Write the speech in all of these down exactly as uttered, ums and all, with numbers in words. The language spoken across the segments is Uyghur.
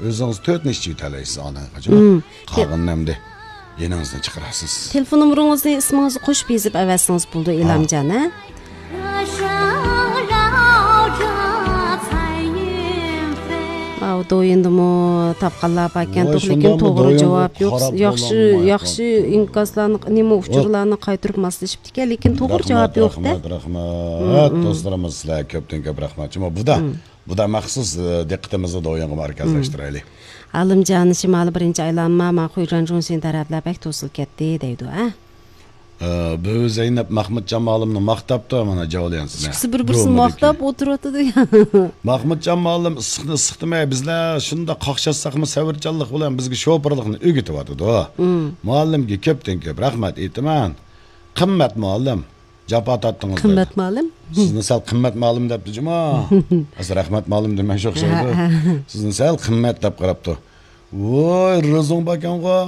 ئۆزىڭىز تۆتنى ئىچىۋېتەلەيسىز ئاندىن قاچان. مم. قالغىنىنى ئەمدى يېنىڭىزدىن چىقىرارسىز. تېلېفون نومۇرىڭىزنى ئىسمىڭىزنى قوشۇپ يېزىپ ئەۋەتسىڭىز بولىدۇ، ھا. ئىلھامجان، ھە؟ ئاۋۇ دويىندىمۇ تاپقانلار باركەن، ۋاي، توق، لېكىن شۇنداقمۇ توغرا دويىنغا جاۋاب يوق. قاراپ ياخشى، بولالمايقان. ياخشى ئىنكاسلارنى، نېمە، ئۇچۇرلارنى قايتۇرۇپ ماسلىشىپتىكەن، لېكىن توغرا جاۋاب يوق-دە. رەھمەت، رەھمەت، رەھمەت، مم، مم. دوستلىرىمىز، سىلەرگە كۆپتىن كۆپ رەھمەت. جۇمۇ، بۇدا، مم. بۇدا مەخسۇس، ئە، دىققىتىمىزنى دويىنغا مەركەزلەشتۈرەيلى. مم. ئالىمجان، شىمالىي بىرىنچى ئايلانما، ماڭا خۇيجۇەنجۇڭشىن تەرەپلەر بەك توسۇلۇپ كەتتى دەيدۇ، ھە؟ ئە، بۇ زەينەپ مەخمۇتجان مۇئەللىمنى ماختاپتۇ، مانا جاۋليەنسىنى. ئىككىسى بىر-بىرسىنى ماختاپ ئولتۇرۇۋاتىدۇ. مەخمۇتجان مۇئەللىم ئىسسىقنى ئىسسىق دېمەي، بىزلەر شۇنداق قاقشاتساقمۇ سەۋرچانلىق بىلەن بىزگە شوپۇرلۇقنى ئۆگىتىۋاتىدۇ. مم. مۇئەللىمگە كۆپتىن كۆپ رەھمەت ئېيتىمەن. قىممەت مۇئەللىم، جاپا تارتتىڭىز دەيدۇ. قىممەت مۇئەللىم؟ سىزنى سەل قىممەت مۇئەللىم دەپتۇ جۇمۇ. ئەسلى رەھمەت مۇئەللىم دېمەي شۇ ئوخشايدۇ. ھە، ھە. سىزنى سەل قىممەت دەپ قاراپتۇ. ۋوي، رېزوڭ باركەنغۇ.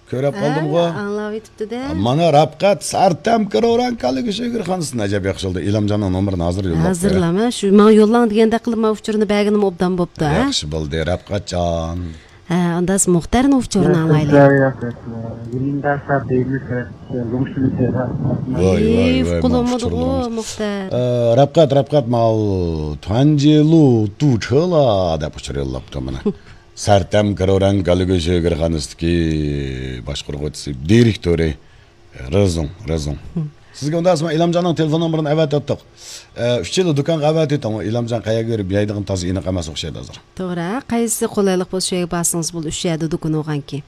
كۆرۈپ قالدىمغۇ. ھە، ئاڭلاۋېتىپتۇ-دە. مانا رەپقەت سەرتەم كىروران كالىگۈ شۆگىرخانىسىدىن ئەجەب ياخشى بولدى. ئىلھامجاننىڭ نومۇرىنى ھازىر يوللاپ بېرەي. ھازىرلام، ھە، شۇ ماڭا يوللاڭ دېگەندەك قىلىپ مانا ئۇچۇرنى بەرگىنىمۇ ئوبدان بوپتۇ، ھە؟ ياخشى بولدى، رەپقەتجان. ھە، ئانداس مۇختەرنىڭ ئۇچۇرىنى ئاڭلايلى. ۋاي، ۋاي، ۋاي، قۇلۇمىدىغۇ مۇختەر. ئە، رەپقەت، رەپقەت، ماۋۇ تۇەنجىلۇ تۇچېلا دەپ ئۇچۇر يوللاپتۇ مانا. سەرتەم كىروران گالىگۈ شۆگىرخانىسىدىكى باشقۇرغۇچىسى، دىرېكتورى، رېزوڭ، رېزوڭ. سىزگە ئۇنداق ئەسما ئىلھامجاننىڭ تېلېفون نومۇرىنى ئەۋەتىۋەتتۇق. ئە، ئۈچىلا دۇكانغا ئەۋەتىۋېتىڭ، ئۇ ئىلھامجان قەيەرگە بېرىپ يەيدىغىنى تازا ئېنىق ئەمەس ئوخشايدۇ ھازىر. توغرا، قەيسى قولايلىق بولسا شۇ يەرگە بارسىڭىز بولدى، ئۈچ يەردە دۇكان بولغانكى.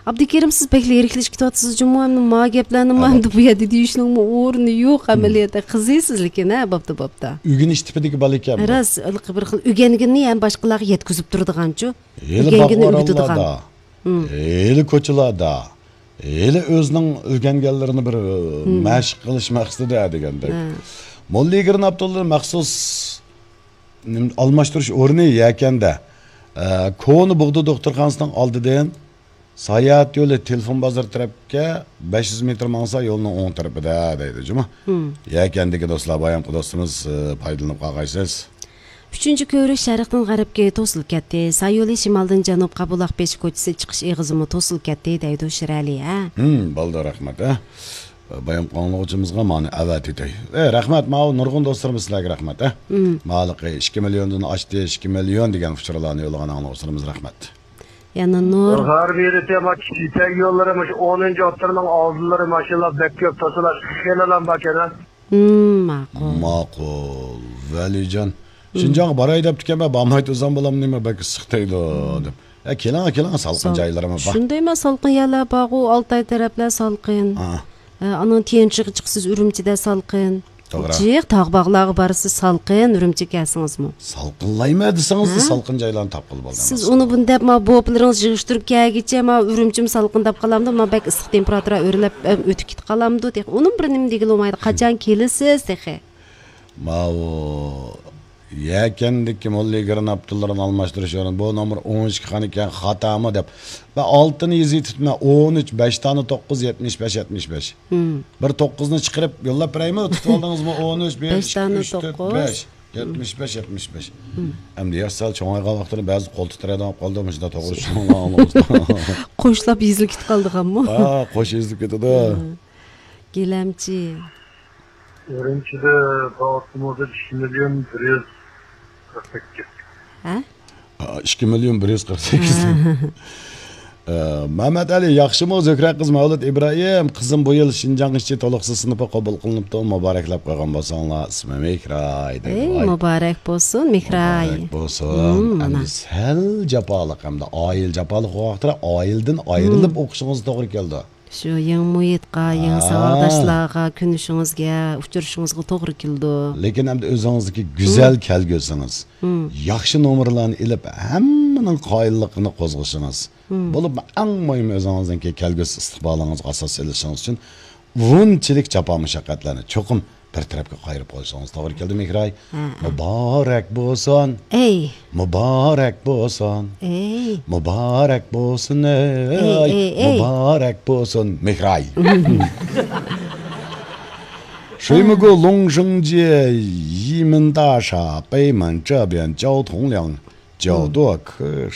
ئابدۇكېرىم، سىز بەكلا يىرىكلىشىپ كېتىۋاتىسىز جۇمۇ، ئەمدى ما گەپلەرنىمۇ ئەمدى بۇ يەردە دېيىشنىڭمۇ ئورنى يوق، ئەمەلىيەتتە قىزىسىز لېكىن، ھە، بوپتۇ، بوپتۇ. ئۆگىنىش تىپىدىكى بالا ئىكەن بۇ. راست، ھېلىقى بىر خىل ئۆگەنگىنىنى ھەم باشقىلارغا يەتكۈزۈپ تۇرىدىغانچۇ. ھېلى ئۆگەنگىنى ئۆگىتىدىغان. باغۋەنلەردە، ھېلى كوچىلاردا، ھېلى ئۆزىنىڭ ئۆگەنگەنلىرىنى بىر، ئە، مەشىق قىلىش مەقسىتىدە دېگەندەك. موللا ئىگىرىن ئابدۇللا مەخسۇس نېمە، ئالماشتۇرۇش ئورنى يەكەندە. ئە، كونا بۇغدا دوختۇرخانىسىنىڭ ئالدىدىن ساياھەت يولى تېلېفون بازىرى تەرەپكە بەش يۈز مېتىر ماڭسا يولنىڭ ئوڭ تەرىپىدە دەيدۇ جۇمۇ. يەكەندىكى دوستلار، بايامقى دوستىمىز، ئە، پايدىلىنىپ قالغايسىز. ئۈچىنچى كۆۋرۈك شەرقتىن غەربكە توسۇلۇپ كەتتى. ساي يولى شىمالدىن جەنۇبقا بۇلاق بېشى كوچىسى چىقىش ئېغىزىمۇ توسۇلۇپ كەتتى دەيدۇ شىرئەلى، ھە؟ ھىم، بولدى، رەھمەت، ھە. بايام ئاڭلىغۇچىمىزغا مانا ئەۋەتىتەي. ئە، رەھمەت، ماۋۇ نۇرغۇن دوستلىرىمىز سىلەرگە رەھمەت، ھە. ماۋۇ ھېلىقى ئىككى مىليوندىن ئاشتى، ئىككى مىليون دېگەن ئۇچۇرلارنى يوللىغان ئاڭلىغۇچىلىرىمىز رەھمەت. يەنە نۇر. غەربىي يولى تېما كىشىتەك يوللىرى مۇشۇ ئونىنچى ئوتتۇرىنىڭ ئالدىلىرى ماشىنىلار بەك كۆپ توسۇلۇش خېلىلا باركەن، ھە. ھىم، ماقۇل. ماقۇل. ۋەلىجان، شىنجاڭغا باراي دەپتىكەنمەن، بارماي تۇرسام بولامدۇ نېمە، بەك ئىسسىق دەيدۇ دەپ. ھە، كېلىڭ، كېلىڭ، سالقىن جايلىرىمۇ بار. شۇندايما سالقىن يەرلەر بارغۇ، ئالتاي تەرەپلەر سالقىن. ھە، ئانىڭ تيەنشىغا چىقىسىز، ئۈرۈمچىدە سالقىن. توغرا. جىق تاغ باغلارغا بارسىز، سالقىن، ئۈرۈمچىگە كەلسىڭىزمۇ. سالقىنلايمەن دېسىڭىزلا، ھە؟ سالقىن جايلارنى تاپقىلى بولىدۇ. سىز ئۇنى بۇنى دەپ، ما بوپىلىرىڭىز يىغىشتۇرۇپ كەلگىچە، ما ئۈرۈمچىمۇ سالقىن دەپ قالامدۇ، ما بەك ئىسسىق تېمپېراتۇرا ئۆرلەپ، ئۆتۈپ كېتىپ قالامدۇ، تېخى ئۇنىمۇ بىر نېمە دېگىلى بولمايدۇ. قاچان كېلىسىز تېخى؟ ماۋۇ يەكەندىكى موللا ئىگىرىن ئابدۇللىرىنى ئالماشتۇرۇش ئورنى، بۇ نومۇر ئون ئىككى خان ئىكەن، خاتامۇ دەپ. مەن ئالتىنى يېزىۋېتىپتىمەن، ئون ئۈچ، بەش تانى توققۇز، يەتمىش بەش، يەتمىش بەش. بىر توققۇزنى چىقىرىپ يوللاپ بېرەيمۇ؟ تۇتۇۋالدىڭىزمۇ؟ ئون ئۈچ، بىر، بەش ئىككى، تانى ئۈچ، تۆت، توققۇز. بەش. يەتمىش بەش، يەتمىش بەش. ئەمدى ياش سەل چوڭايغان ۋاقتىدا بەزى قول تىترەيدىغان بولۇپ قالدى، مۇشۇنداق توغرا چۈشىنىڭلار ئاڭلىمىسا. قوشلاپ يېزىلىپ كېتىپ قالىدىغانمۇ؟ ھە، قوش يېزىلىپ كېتىدۇ. گىلەمچى. ئۈرۈمچىدە بار ئاپتوموبىل ئىككى مىليون بىر يۈز قىرىق سەككىز. ھە؟ ئىككى مىليون بىر يۈز قىرىق سەككىز. ھە. ئە، مەمەت ئەلى، ياخشىمۇ زۆھرە قىز مەۋلۇت ئىبراھىم؟ قىزىم بۇ يىل شىنجاڭ ئىشچى تولۇقسىز سىنىپىغا قوبۇل قىلىنىپتۇ، مۇبارەكلەپ قويغان بولساڭلار. ئىسمى مېھراي دەيدۇ. ئەي، مۇبارەك بولسۇن، مېھراي. مۇبارەك بولسۇن. ھىم، مانا. ئەمدى سەل جاپالىق، ئەمدى ئائىلە جاپالىق ۋاقىتتا ئائىلىدىن ئايرىلىپ ئوقۇشىڭىز توغرا كەلدى. شۇ يېڭى مۇھىتقا، يېڭى ساۋاقداشلارغا كۆنۈشىڭىزگە، ئۇچرىشىڭىزغا توغرا كېلىدۇ. لېكىن ئەمدى ئۆزىڭىزدىكى گۈزەل كەلگۈسىڭىز، ياخشى نومۇرلارنى ئېلىپ، ھەممىنىڭ قايىللىقىنى قوزغىشىڭىز، بولۇپمۇ ئەڭ مۇھىمى ئۆزىڭىزنىڭكى كەلگۈسى ئىستىقبالىڭىزغا ئاساس سېلىشىڭىز ئۈچۈن بۇنچىلىك جاپا مۇشەققەتلەرنى چوقۇم بىر تەرەپكە قايرىپ قويۇشىڭىز توغرا كېلىدۇ، مېھراي. ھە، ھە. مۇبارەك بولسۇن. ئەي. مۇبارەك بولسۇن. ئەي. مۇبارەك بولسۇن، ئەي. ئەي، ئەي، ئەي. مۇبارەك بولسۇن، مېھراي. 水木路龙生街，一门大厦，北门这边交通量，交多可是。